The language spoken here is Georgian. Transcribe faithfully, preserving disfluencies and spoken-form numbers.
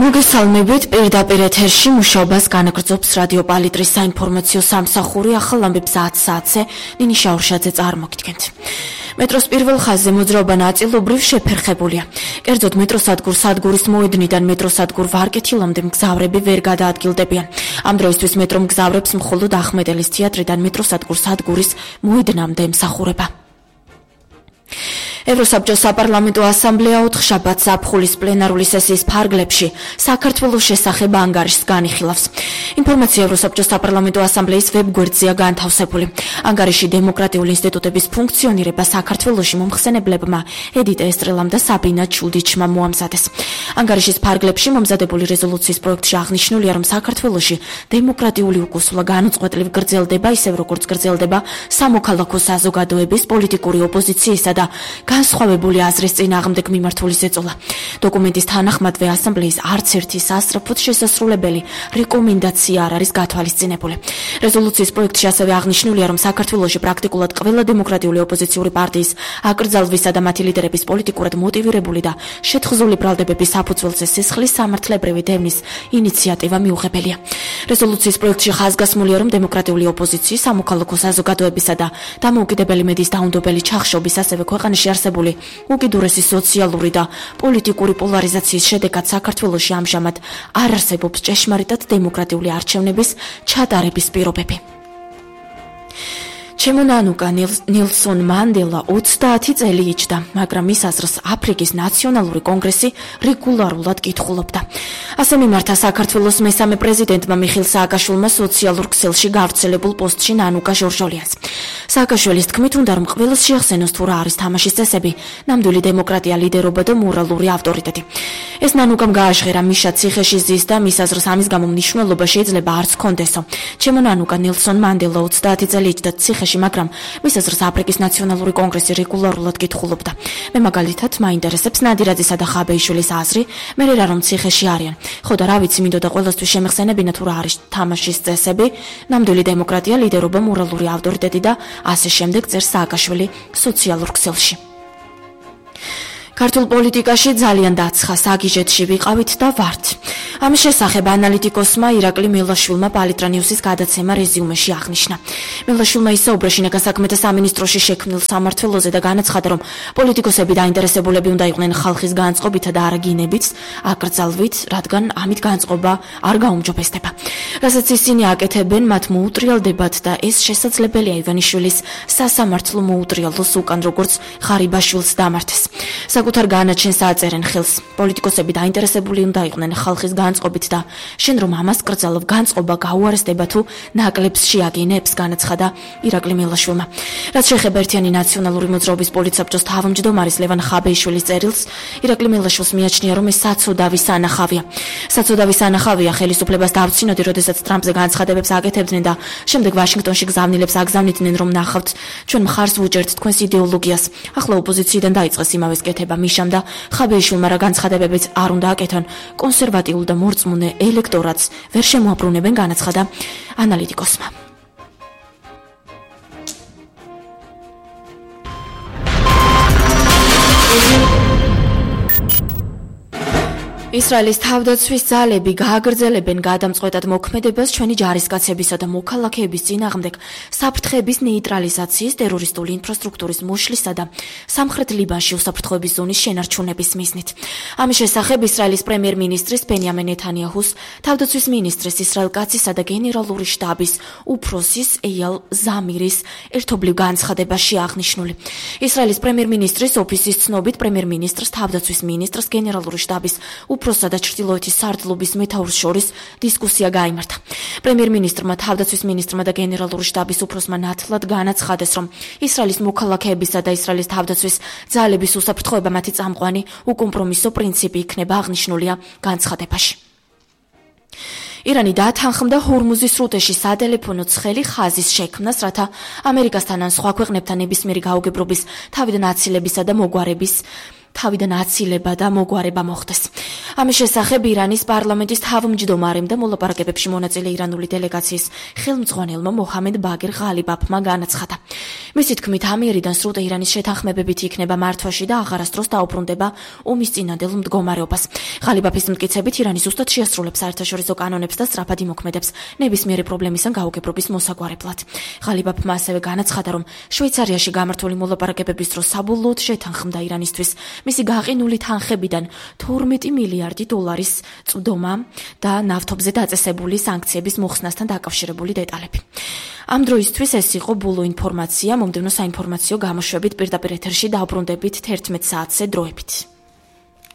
მოგესალმებით, პირდაპირ ეთერში მუშაობას განაგრძობს რადიო პალიტრის საინფორმაციო სამსახური. ახალ ამბებს ათ საათზე ნინი შაურშაძე წარმოგიდგენთ. მეტროს პირველ ხაზზე მოძრაობა ნაწილობრივ შეფერხებულია. კერძოდ მეტროსადგურ სადგურის მოედნიდან მეტროსადგურ ვარკეთილამდე მგზავრები ვერ გადაადგილდებიან. ამ დროისთვის მეტრო მგზავრებს მხოლოდ ახმეტელის თეატრიდან მეტროსადგურ სადგურის მოედნამდე ემსახურება. ევროსაბჭოს საპარლამენტო ასამბლეა ოთხშაბათს ზაფხულის პლენარული სესიის ფარგლებში საქართველოს შესახებ ანგარიშს განიხილავს. ინფორმაცია ევროსაბჭოს საპარლამენტო ასამბლეის ვებგვერდზეა განთავსებული. ანგარიში დემოკრატიული ინსტიტუტების ფუნქციონირება საქართველოში მომხსენებლებმა ედიტ ესტრელამ და საბინა ჩუდიჩმა მოამზადეს. ანგარიშის ფარგლებში მომზადებული რეზოლუციის პროექტში აღნიშნულია, რომ საქართველოში დემოკრატიული უკუსვლა განუწყვეტლივ გრძელდება, ისევ როგორც გრძელდება სამოქალაქო საზოგადოების, პოლიტიკური ოპოზიციისა და განსხვავებული აზრის წინააღმდეგ მიმართული ზეწოლა. დოკუმენტის თანახმადვე ასამბლეის არც ერთი სასწრაფოდ შესასრულებელი რეკომენდაცია არ არის გათვალისწინებული. რეზოლუციის პროექტში ასევე აღნიშნულია, რომ საქართველოში პრაქტიკულად ყველა დემოკრატიული ოპოზიციური პარტიის აკრძალვისა და მათი ლიდერების პოლიტიკურად მოტივირებული და შეთხზული ბრალდებების საფუძველზე სისხლის სამართლებრივი დევნის ინიციატივა მიუღებელია. რეზოლუციის პროექტში ხაზგასმულია, რომ დემოკრატიული ოპოზიციის, სამოქალაქო საზოგადოებისა და დამოუკიდებელი მედიის დაუნდობელი ჩახშობის, ასევე ქვეყანაში არსებული უკიდურესი სოციალური და პოლიტიკური პოლარიზაციის შედეგად საქართველოში ამჟამად არ არსებობს ჭეშმარიტად დემოკრატიული არჩევნების ჩატარების პირობები. ჩემო ნანუკა ნელსონ მანდელა ოცდაათი წელი იჯდა, მაგრამ მის აზრს აფრიკის ნაციონალური კონგრესი რეგულარულად კითხულობდა. ასე მიმართა საქართველოს მესამე პრეზიდენტმა მიხეილ სააკაშვილმა სოციალურ ქსელში გავრცელებულ პოსტში ნანუკა ჟორჟოლიანს. სააკაშვილის თქმით, უნდა რომ ყველას შეახსენოს თუ რა არის თამაშის წესები, ნამდვილი დემოკრატია, ლიდერობა და მორალური ავტორიტეტი. ეს ნანუკამ გააჟღერა მიშა ციხეში ზის და მის აზრს ამის გამო მნიშვნელობა შეიძლება არც ჰქონდესო. ჩემო ნანუკა ნელსონ მანდელა ოცდაათი წელი იჯდა ციხეში, მაგრამ მის აზრს აფრიკის ნაციონალური კონგრესი რეგულარულად კითხულობდა. მე მაგალითად მაინტერესებს ნადირაძისა და ხაბეიშვილის აზრი, მე რა რომ ციხეში არიან. ხო და რა ვიცი, მინდოდა ყველასთვის შემეხსენებინა თუ რა არის თამაშის წესები, ნამდვილი დემოკრატია, ლიდერობა, მორალური ავტორიტეტი და ასე შემდეგ, წერს სააკაშვილი სოციალურ ქსელში. ქართულ პოლიტიკაში ძალიან დაცხა, საგიჟეთში ვიყავით და ვართ. ამის შესახებ ანალიტიკოსმა ირაკლი მელაშვილმა პალიტრა ნიუსის გადაცემა რეზიუმეში აღნიშნა. მელაშვილმა ისაუბრა შინაგან საქმეთა სამინისტროში შექმნილ სამმართველოზე და განაცხადა, რომ პოლიტიკოსები დაინტერესებულები უნდა იყვნენ ხალხის განწყობითა და არა გინებით, აკრძალვით, რადგან ამით განწყობა არ გაუმჯობესდება. რასაც ისინი აკეთებენ, მათ მოუტრიალდებათ და ეს შესაძლებელია ივანიშვილის სასამართლო მოუტრიალოს უკან როგორც ღარიბაშვილს დამართეს. საკუთარ განაჩენს აწერენ ხელს. პოლიტიკოსები დაინტერესებული უნდა იყვნენ ხალხის განწყობით და შენ რომ ამას კრძალავ, განწყობა გაუარესდება თუ ნაკლებს შეაგინებს, განაცხადა ირაკლი მელაშვილმა. რაც შეეხება ერთიანი ნაციონალური მოძრაობის პოლიტსაბჭოს თავმჯდომარის ლევან ხაბეიშვილის წერილს, ირაკლი მელაშვილს მიაჩნია, რომ ეს საცოდავი სანახავია. საცოდავი სანახავია ხელისუფლებას დავცინოდი, როდესაც ტრამპზე განცხადებებს აკეთებდნენ და შემდეგ ვაშინგტონში გზავნილებს აგზავნიდნენ, რომ ნახავთ, ჩვენ მხარს ვუჭერთ თქვენს იდეოლოგიას. ახლა ოპოზიციიდან დაიწყეს იმავეს კეთება მიშამ და ხაბეიშვილმა რა განცხადებებიც არ უნდა აკეთონ, კონსერვატიულ და მორწმუნე ელექტორატს ვერ შემოაბრუნებენ, განაცხადა ანალიტიკოსმა. ისრაელის თავდაცვის ძალები გააგრძელებენ გადამწყვეტად მოქმედებას ჩვენი ჯარისკაცებისა და მოქალაქეების წინააღმდეგ საფრთხების ნეიტრალიზაციის, ტერორისტული ინფრასტრუქტურის მოშლისა და სამხრეთ ლიბანში უსაფრთხოების ზონის შენარჩუნების მიზნით. ამის შესახებ ისრაელის პრემიერ-მინისტრის ბენიამინ ნეთანიაჰუს, თავდაცვის მინისტრის ისრაელ კაცისა და გენერალური შტაბის უფროსის ეიალ ზამირის ერთობლივ განცხადებაში აღნიშნული. ისრაელის პრემიერ-მინისტრის ოფისის ცნობით, პრემიერ-მინისტრს, თავდაცვის მინისტრს, გენერალური შტაბის უფროსსა და ჩრდილოეთის სარდლობის მეთაურს შორის დისკუსია გაიმართა. პრემიერ-მინისტრმა, თავდაცვის მინისტრმა და გენერალური შტაბის უფროსმა ნათლად განაცხადეს, რომ ისრაელის მოქალაქეებისა და ისრაელის თავდაცვის ძალების უსაფრთხოება მათი წამყვანი უკომპრომისო პრინციპი იქნება, აღნიშნულია განცხადებაში. ირანი დათანხმდა ჰორმუზის სრუტეში სატელეფონო ცხელი ხაზის შექმნას, რათა ამერიკასთან ან სხვა ქვეყნებთან ნებისმიერი გაუგებრობის, თავიდან აცილებისა და მოგვარების თავიდან აცილება და მოგვარება მოხდეს. ამის შესახებ ირანის პარლამენტის თავმჯდომარემ და მოლაპარაკებებში მონაწილე ირანული დელეგაციის ხელმძღვანელმა მოჰამედ ბაგერ ღალიბაფმა განაცხადა. მისი თქმით, ამიერიდან სრულ ტეჰრანის შეთანხმებებით იქნება მართვაში და აღარასდროს დაუბრუნდება ომის წინანდელ მდგომარეობას. ღალიბაფის მტკიცებით, ირანი ზუსტად შეასრულებს საერთაშორისო კანონებს და სწრაფად იმოქმედებს ნებისმიერი პრობლემისგან გაუგებრობის მოსაგვარებლად. ღალიბაფმა ასევე განაცხადა, რომ შვეიცარიაში გამართული მოლაპარაკებების დროს საბოლოოდ შეთანხმდა ირანისთვის მისი გაყინული თანხებიდან თორმეტი მილიარდი დოლარის წვდომა და ნავთობზე დაწესებული სანქციების მოხსნასთან დაკავშირებული დეტალები. ამ დროისთვის ეს იყო ბოლო ინფორმაცია, მომდევნო საინფორმაციო გამოშვებით პირდაპირ ეთერში დავბრუნდებით თერთმეტ საათზე დროებით.